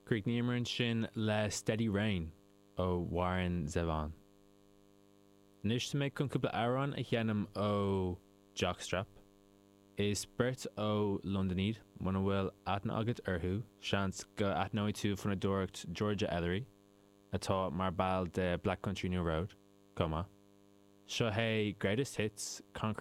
Chríochnaíomar ansin le Steady Rain ó Warren Zevon. Anois tá mé chun cúpla amhrán a sheinm ó Jockstrap. Is beirt ó Londain iad, muna bhfuil aithne agat orthu, seans go aithneoidh tú fonnadóireacht Georgia Ellery, atá mar ball de Black Country New Road, chomh maith. Seo é Greatest Hits, Concrete.